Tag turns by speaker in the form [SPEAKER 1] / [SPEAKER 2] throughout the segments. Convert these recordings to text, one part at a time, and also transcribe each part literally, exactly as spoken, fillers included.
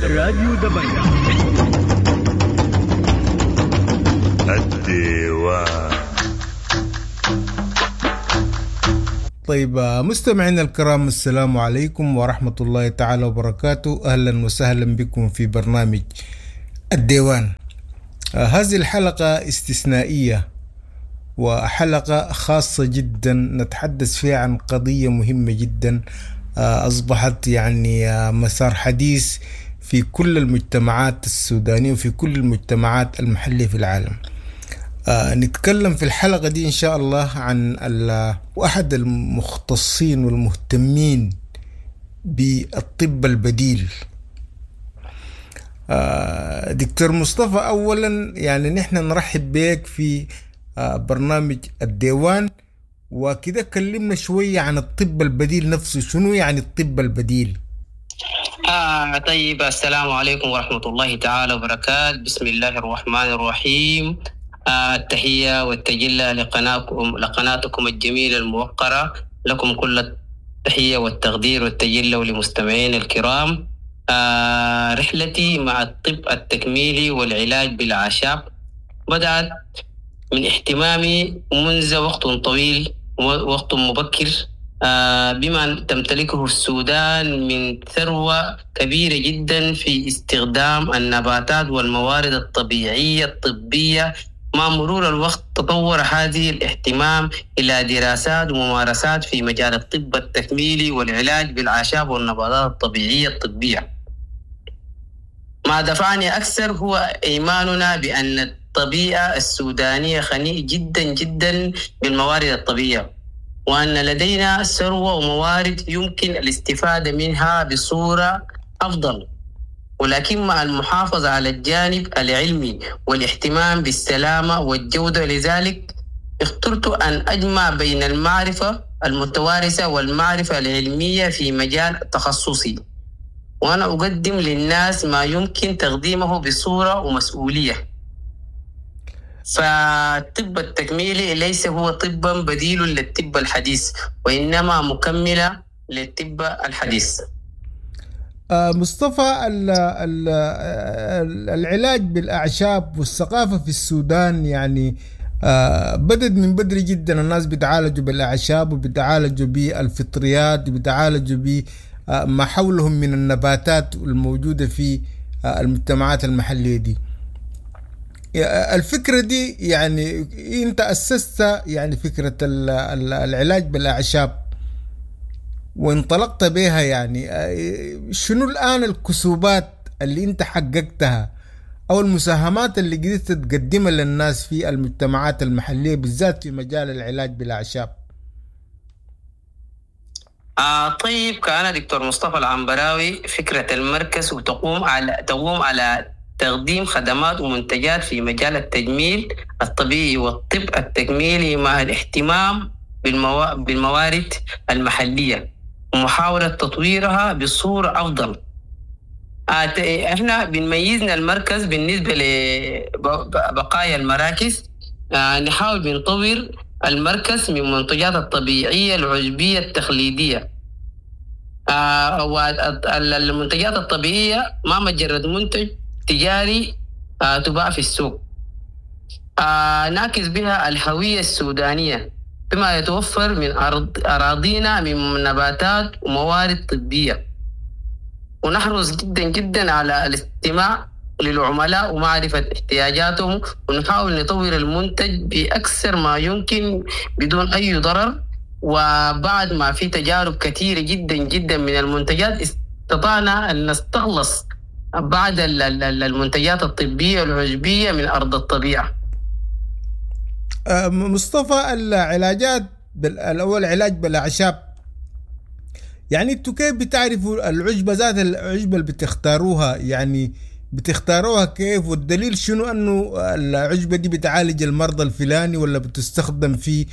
[SPEAKER 1] راديو دبنجة.
[SPEAKER 2] الديوان.
[SPEAKER 3] طيب مستمعينا الكرام، السلام عليكم ورحمة الله تعالى وبركاته. أهلا وسهلا بكم في برنامج الديوان. هذه الحلقة استثنائية وحلقة خاصة جدا نتحدث فيها عن قضية مهمة جدا أصبحت يعني مسار حديث في كل المجتمعات السودانية وفي كل المجتمعات المحلية في العالم. آه نتكلم في الحلقة دي إن شاء الله عن أحد المختصين والمهتمين بالطب البديل، آه دكتور مصطفى. أولا يعني نحن نرحب بك في آه برنامج الديوان، وكده كلمنا شوية عن الطب البديل نفسه. شنو يعني الطب البديل؟
[SPEAKER 4] آه طيب، السلام عليكم ورحمة الله تعالى وبركاته. بسم الله الرحمن الرحيم. آه التحية والتجلة لقناتكم لقناتكم الجميلة الموقرة، لكم كل التحية والتقدير والتجلة ولمستمعين الكرام. آه رحلتي مع الطب التكميلي والعلاج بالأعشاب بدأت من اهتمامي منذ وقت طويل ووقت مبكر آه بما تمتلكه السودان من ثروة كبيرة جدا في استخدام النباتات والموارد الطبيعية الطبية. مع مرور الوقت تطور هذه الاهتمام إلى دراسات وممارسات في مجال الطب التكميلي والعلاج بالأعشاب والنباتات الطبيعية الطبية. ما دفعني أكثر هو إيماننا بأن الطبيعة السودانية غنية جدا جدا بالموارد الطبيعية، وأن لدينا ثروة وموارد يمكن الاستفادة منها بصورة أفضل، ولكن مع المحافظة على الجانب العلمي والاهتمام بالسلامة والجودة. لذلك اخترت أن أجمع بين المعرفة المتوارثة والمعرفة العلمية في مجال تخصصي، وأنا أقدم للناس ما يمكن تقديمه بصورة ومسؤولية. فالطب التكميلي ليس هو طبا بديل للطب الحديث، وإنما مكملة للطب الحديث.
[SPEAKER 3] مصطفى، ال ال العلاج بالأعشاب والثقافة في السودان يعني بدت من بدري جدا. الناس بيتعالجوا بالأعشاب وبيتعالجوا بالفطريات وبيتعالجوا بما حولهم من النباتات الموجودة في المجتمعات المحلية دي. الفكرة دي يعني انت أسست يعني فكرة العلاج بالأعشاب وانطلقت بها، يعني شنو الآن الكسوبات اللي انت حققتها أو المساهمات اللي قدرت تقدمها للناس في المجتمعات المحلية بالذات في مجال العلاج بالأعشاب؟
[SPEAKER 4] آه طيب، كان دكتور مصطفى العنبراوي فكرة المركز وتقوم على تقوم على تقديم خدمات ومنتجات في مجال التجميل الطبيعي والطب التكميلي مع الاهتمام بالموا... بالموارد المحلية ومحاولة تطويرها بصورة أفضل. احنا بنميزنا المركز بالنسبة لبقايا المراكز، نحاول بنطور المركز من منتجات الطبيعية العشبية التقليدية. والمنتجات الطبيعية ما مجرد منتج تجاري تباع في السوق، نعكس بها الهوية السودانية بما يتوفر من أرض أراضينا من نباتات وموارد طبية، ونحرص جدا جدا على الاستماع للعملاء ومعرفة احتياجاتهم، ونحاول نطور المنتج بأكثر ما يمكن بدون أي ضرر. وبعد ما في تجارب كثيرة جدا جدا من المنتجات استطعنا أن نستخلص بعض المنتجات الطبية العشبية من أرض الطبيعة.
[SPEAKER 3] مصطفى، العلاجات الأول علاج بالأعشاب، يعني انتوا كيف بتعرفوا العشبة ذات العشبة اللي بتختاروها؟ يعني بتختاروها كيف؟ والدليل شنو أنه العشبة دي بتعالج المرضى الفلاني ولا بتستخدم في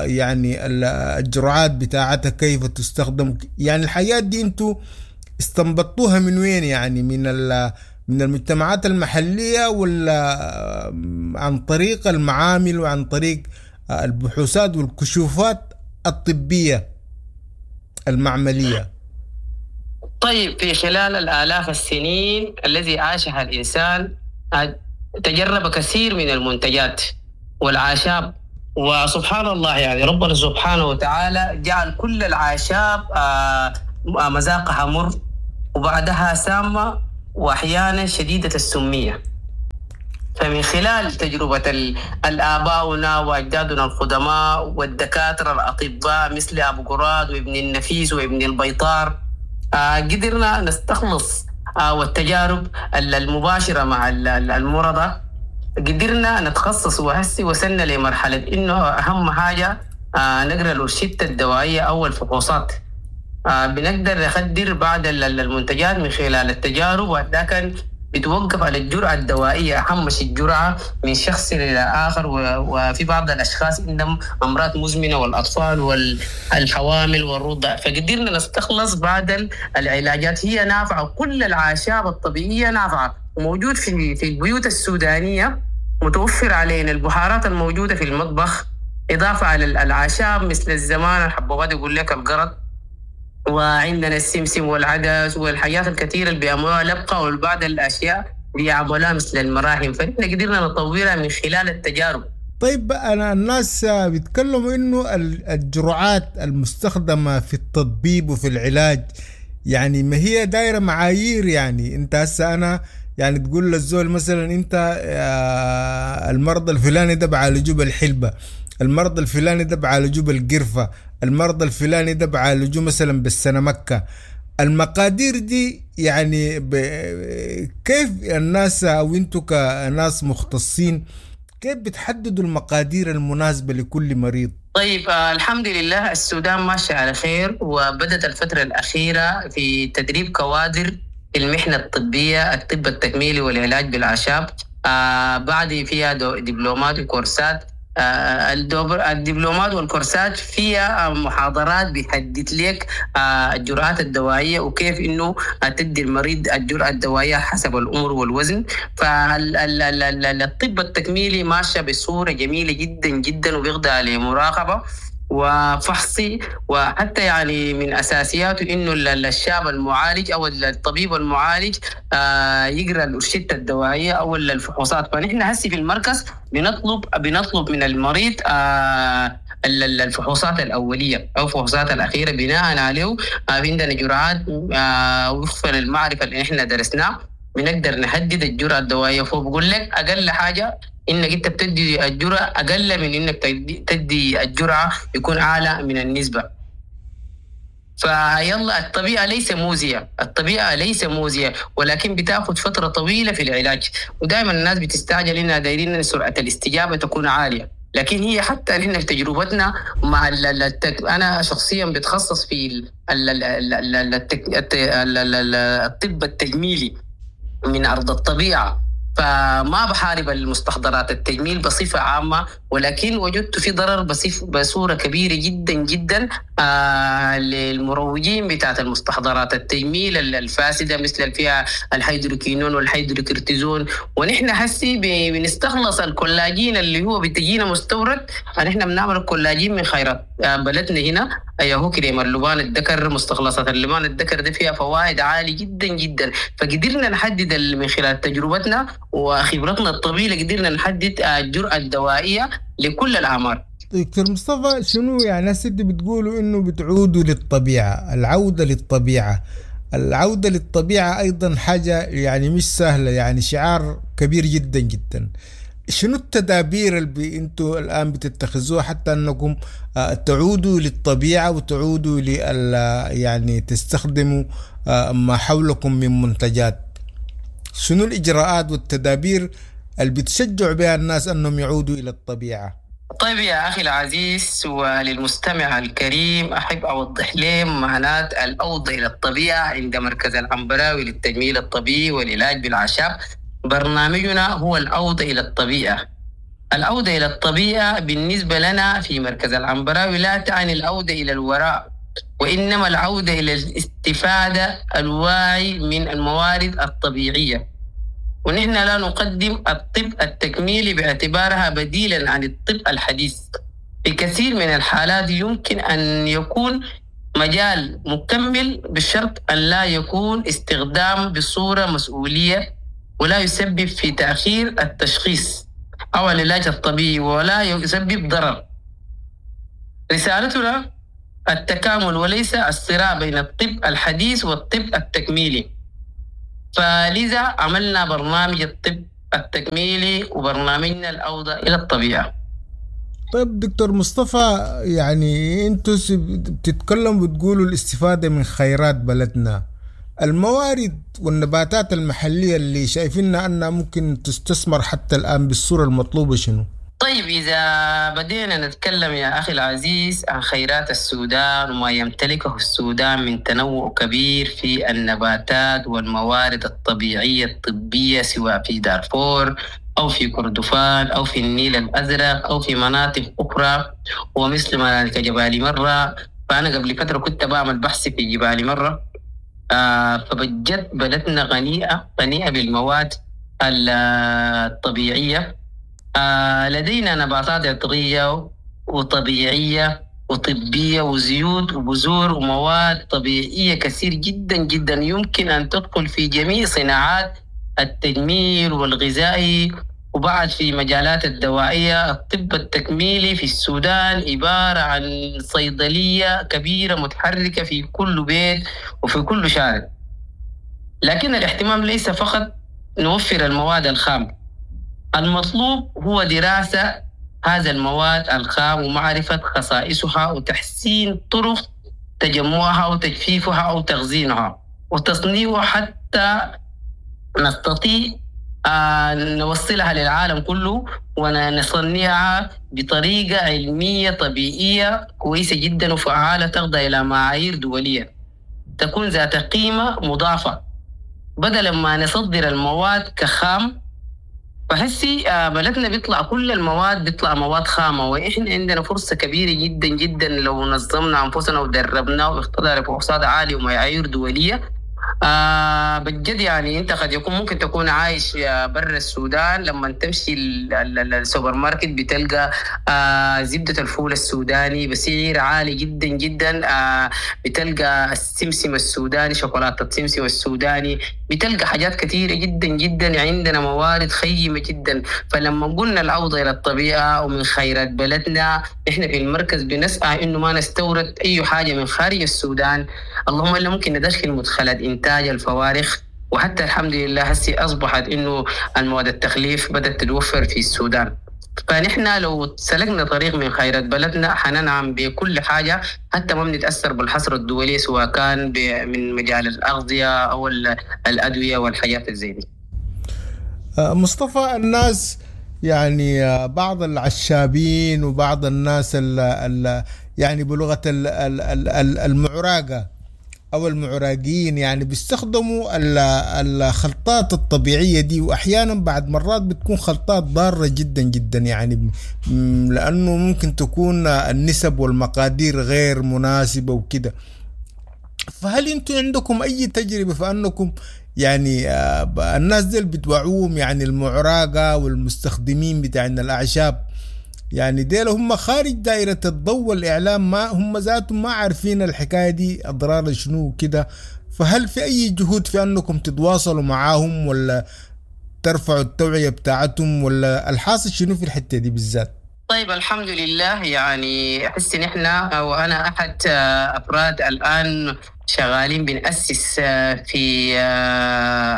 [SPEAKER 3] يعني الجرعات بتاعتها كيف تستخدم؟ يعني الحياة دي انتوا استنبطوها من وين؟ يعني من من المجتمعات المحلية ولا عن طريق المعامل وعن طريق البحوثات والكشوفات الطبية المعملية؟
[SPEAKER 4] طيب، في خلال الآلاف السنين الذي عاشها الإنسان تجرب كثير من المنتجات والأعشاب، وسبحان الله يعني ربنا سبحانه وتعالى جعل كل الأعشاب مذاقها مر وبعدها سامة وأحيانا شديدة السمية. فمن خلال تجربة الآباؤنا وأجدادنا القدماء والدكاترة الأطباء مثل أبو قراد وابن النفيس وابن البيطار، قدرنا نستخلص والتجارب المباشرة مع المرضى قدرنا نتخصص، وهسي وصلنا لمرحلة إنه أهم حاجة نقرأ الروشتة الدوائية أو الفحوصات. بنقدر نخدر بعض المنتجات من خلال التجارب، ولكن بتوقف على الجرعة الدوائية، أهم شيء الجرعة من شخص إلى آخر. وفي بعض الأشخاص عندهم أمراض مزمنة والأطفال والحوامل والرضع، فقدرنا نستخلص بعض العلاجات هي نافعة. كل الأعشاب الطبيعية نافعة وموجود في في البيوت السودانية، متوفر علينا البهارات الموجودة في المطبخ، إضافة على الأعشاب مثل الزمان الحبوبات يقول لك القرض، وعندنا السمسم والعدس والحاجات الكثيرة اللي بيعملوها لبقة، والبعض الأشياء بيعملوها مثل المراهم، فإحنا قدرنا نطورها من خلال التجارب.
[SPEAKER 3] طيب، أنا الناس بيتكلموا إنه الجرعات المستخدمة في التطبيب وفي العلاج يعني ما هي دايرة معايير. يعني أنت هسه أنا يعني تقول للزول مثلا أنت المرض الفلاني ده بعالجوه بالحلبة، المرض الفلاني ده بعالجوه بالقرفة، المرض الفلاني ده بعالجوه مثلا بالسنمكة. المقادير دي يعني ب... كيف الناس أو انتوا كناس مختصين كيف بتحددوا المقادير المناسبة لكل مريض؟
[SPEAKER 4] طيب، آه الحمد لله السودان ماشي على خير، وبدت الفترة الأخيرة في تدريب كوادر في المحنة الطبية، الطب التكميلي والعلاج بالأعشاب. آه بعد فيها دبلومات وكورسات. الدبلومات والكورسات فيها محاضرات بيحدد لك الجرعات الدوائية وكيف إنه تدي المريض الجرعة الدوائية حسب العمر والوزن. فالطب التكميلي ماشى بصورة جميلة جدا جدا وبيخضع لمراقبة وفحصي، وحتى يعني من أساسياته إنه الشاب المعالج أو الطبيب المعالج يقرأ الأرشدة الدوائية أو الفحوصات. فنحن هسي في المركز بنطلب بنطلب من المريض الفحوصات الأولية أو الفحوصات الأخيرة، بناء عليه عندنا جرعات وفقا للمعرفة اللي إحنا درسناه بنقدر نحدد الجرعة الدوائية. فبقول لك أقل حاجة إنك أنت بتدي الجرعة أقل من إنك تدي الجرعة يكون أعلى من النسبة. فيلا الطبيعة ليس موزية، الطبيعة ليس موزية، ولكن بتاخذ فترة طويلة في العلاج، ودائما الناس بتستعجل إنها دايرين سرعة الاستجابة تكون عالية، لكن هي حتى نحن في تجربتنا مع التك... أنا شخصيا بتخصص في الطب التجميلي من أرض الطبيعة، فما بحارب المستحضرات التجميل بصفة عامة، ولكن وجدت في ضرر بصورة كبيرة جدا جدا آه للمروجين بتاعت المستحضرات التجميل الفاسدة مثل فيها الهيدروكينون والهيدروكورتيزون. ونحن حسي بنستخلص الكولاجين اللي هو بتجينا مستورد، نحن بنعمل الكولاجين من خيرات بلدنا هنا، هو كريم اللبان الذكر، مستخلصات اللبان الذكر ده فيها فوائد عالية جدا جدا. فقدرنا نحدد من خلال تجربتنا وخبرتنا الطويلة قدرنا نحدد الجرعة الدوائية لكل الأعمار.
[SPEAKER 3] دكتور مصطفى، شنو يعني هسه بتقولوا إنه بتعودوا للطبيعة، العودة للطبيعة، العودة للطبيعة أيضا حاجة يعني مش سهلة، يعني شعار كبير جدا جدا. شنو التدابير اللي انتوا الآن بتتخذوها حتى أنكم تعودوا للطبيعة وتعودوا لل يعني تستخدموا ما حولكم من منتجات؟ شنو الإجراءات والتدابير اللي بتشجع بها الناس أنهم يعودوا إلى الطبيعة؟
[SPEAKER 4] طيب يا أخي العزيز وللمستمع الكريم، أحب أوضح لهم معنات العودة إلى الطبيعة عند مركز العنبراوي للتجميل الطبيعي والعلاج بالأعشاب. برنامجنا هو العودة إلى الطبيعة. العودة إلى الطبيعة بالنسبة لنا في مركز العنبراوي لا تعني العودة إلى الوراء، وإنما العودة إلى الاستفادة الواعي من الموارد الطبيعية. ونحن لا نقدم الطب التكميلي باعتبارها بديلا عن الطب الحديث. في كثير من الحالات يمكن أن يكون مجال مكمل بشرط أن لا يكون استخدام بصورة مسؤولية ولا يسبب في تأخير التشخيص أو العلاج الطبيعي ولا يسبب ضرر. رسالتنا التكامل وليس الصراع بين الطب الحديث والطب التكميلي. فلذا عملنا برنامج الطب التكميلي وبرنامجنا العودة إلى الطبيعة.
[SPEAKER 3] طيب دكتور مصطفى، يعني انتوا بتتكلموا بتقولوا الاستفادة من خيرات بلدنا، الموارد والنباتات المحلية اللي شايفينها أنها ممكن تستثمر حتى الآن بالصورة المطلوبة شنو؟
[SPEAKER 4] طيب إذا بدينا نتكلم يا أخي العزيز عن خيرات السودان وما يمتلكه السودان من تنوع كبير في النباتات والموارد الطبيعية الطبية، سواء في دارفور أو في كردفان أو في النيل الأزرق أو في مناطق أخرى، ومثل ما كجبال مرة. فأنا قبل فترة كنت بعمل بحث في جبال مرة، آه فبجد بلدنا غنيئة غنيئة بالمواد الطبيعية. آه لدينا نباتات عطرية وطبيعية وطبية وزيوت وبذور ومواد طبيعية كثير جدا جدا، يمكن أن تدخل في جميع صناعات التجميل والغذائي وبعد في مجالات الدوائية. الطب التكميلي في السودان عبارة عن صيدلية كبيرة متحركة في كل بيت وفي كل شارع. لكن الاهتمام ليس فقط نوفر المواد الخام، المطلوب هو دراسة هذا المواد الخام ومعرفة خصائصها وتحسين طرق تجمعها وتجفيفها أو تخزينها وتصنيعها حتى نستطيع أن نوصلها للعالم كله ونصنعها بطريقة علمية طبيعية كويسة جدا وفعالة تخضع إلى معايير دولية، تكون ذات قيمة مضافة، بدلا ما نصدر المواد كخام. فحسي بلدنا بيطلع كل المواد بيطلع مواد خامة، وإحنا عندنا فرصة كبيرة جدا جدا لو نظمنا أنفسنا ودربنا واختبرنا بفحوصات عالية ومعايير دولية. آه بجد يعني أنت قد يكون ممكن تكون عايش برا السودان، لما تمشي السوبر ماركت بتلقى آه زبدة الفول السوداني بسعر عالي جدا جدا، آه بتلقى السمسم السوداني، شوكولاتة السمسم السوداني، بتلقى حاجات كثيرة جدا جدا. عندنا موارد خيمة جدا. فلما قلنا العودة إلى الطبيعة ومن خيرات بلدنا، إحنا في المركز بنسعى إنه ما نستورد أي حاجة من خارج السودان، اللهم إلا ممكن ندخل مدخلات إنتاج الفوارخ. وحتى الحمد لله هسي أصبحت إنه المواد التخليف بدأت تتوفر في السودان. فنحن لو سلكنا طريق من خيرات بلدنا حننعم بكل حاجة، حتى ما بنتأثر بالحصر الدولي سواء كان من مجال الأغذية أو الأدوية والحاجات زي دي.
[SPEAKER 3] مصطفى، الناس يعني بعض العشابين وبعض الناس ال ال يعني بلغة المعراقة أو المعراقيين يعني بيستخدموا الخلطات الطبيعية دي، وأحيانا بعد مرات بتكون خلطات ضارة جدا جدا، يعني لأنه ممكن تكون النسب والمقادير غير مناسبة وكده. فهل أنتم عندكم أي تجربة في أنكم يعني الناس دي بتوعوهم، يعني المعراقة والمستخدمين بتاعنا الأعشاب، يعني ديل هم خارج دائرة الضوء والإعلام، ما هم ذاتهم ما عارفين الحكاية دي أضرار شنو كده. فهل في أي جهود في أنكم تتواصلوا معاهم ولا ترفعوا التوعية بتاعتهم، ولا الحاصل شنو في الحتة دي بالذات؟
[SPEAKER 4] طيب الحمد لله، يعني أحس إن إحنا وأنا أحد أفراد الآن شغالين بنأسس في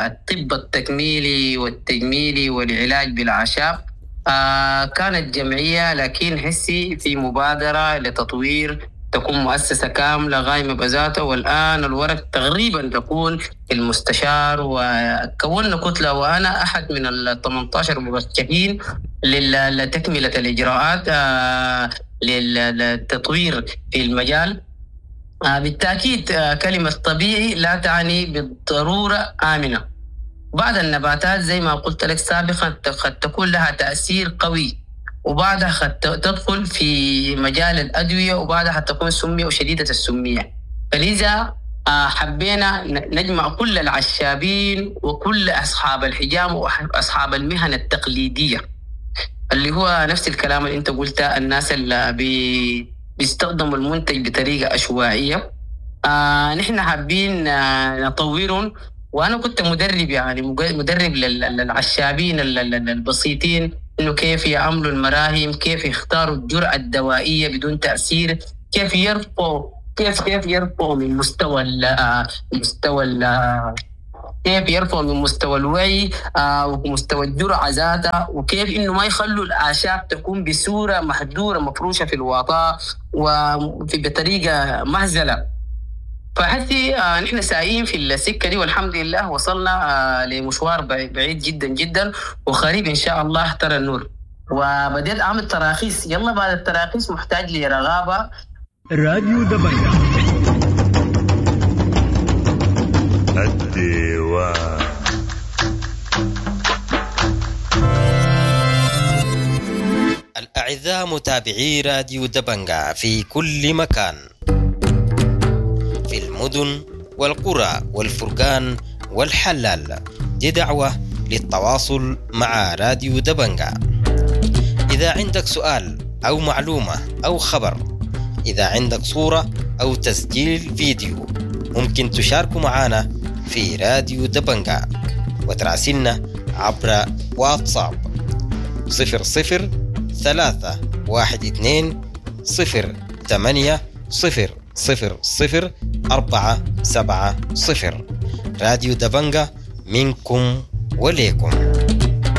[SPEAKER 4] الطب التكميلي والتجميلي والعلاج بالأعشاب. آه كانت جمعية، لكن حسي في مبادرة لتطوير تكون مؤسسة كاملة قائمة بذاتها، والآن الورق تقريبا تكون المستشار، وكونا كتلة وأنا أحد من ال ثمانية عشر مرشحين لتكملة الإجراءات آه للتطوير في المجال. آه بالتأكيد آه كلمة طبيعي لا تعني بالضرورة آمنة. بعض النباتات زي ما قلت لك سابقا قد تكون لها تأثير قوي، وبعدها قد تدخل في مجال الأدوية، وبعدها تكون سمية وشديدة السمية. فلذا حبينا نجمع كل العشابين وكل أصحاب الحجام وأصحاب المهن التقليدية، اللي هو نفس الكلام اللي أنت قلته، الناس اللي بيستخدموا المنتج بطريقة عشوائية. آه نحن حابين آه نطورهم. وانا كنت مدرب، يعني مدرب للعشابين البسيطين، انه كيف يعملوا المراهم، كيف يختاروا الجرعة الدوائية بدون تاثير، كيف يرفعوا كيف كيف يرفعوا من مستوى ال مستوى ال كيف يرفعوا من مستوى الوعي آه ومستوى الجرعة ذاتها، وكيف انه ما يخلوا الاعشاب تكون بصورة مهدوره مفروشه في الوطاء وفي بطريقة مهزله. فحسي آه نحن سايقين في السكة دي، والحمد لله وصلنا آه لمشوار بعيد جدا جدا، وقريب ان شاء الله ترى النور. وبديت اعمل تراخيص، يلا بعد التراخيص محتاج لرغابه.
[SPEAKER 1] راديو دبنجا
[SPEAKER 2] الديوان.
[SPEAKER 5] الأعزاء متابعي راديو دبنجا في كل مكان، في المدن والقرى والفرقان والحلال، دي دعوة للتواصل مع راديو دبنجا. إذا عندك سؤال أو معلومة أو خبر، إذا عندك صورة أو تسجيل فيديو، ممكن تشاركوا معنا في راديو دبنجا وتراسلنا عبر واتساب صفر صفر ثلاثة واحد اثنين صفر ثمانية صفر صفر صفر أربعة سبعة صفر. راديو دبنجا منكم وليكم.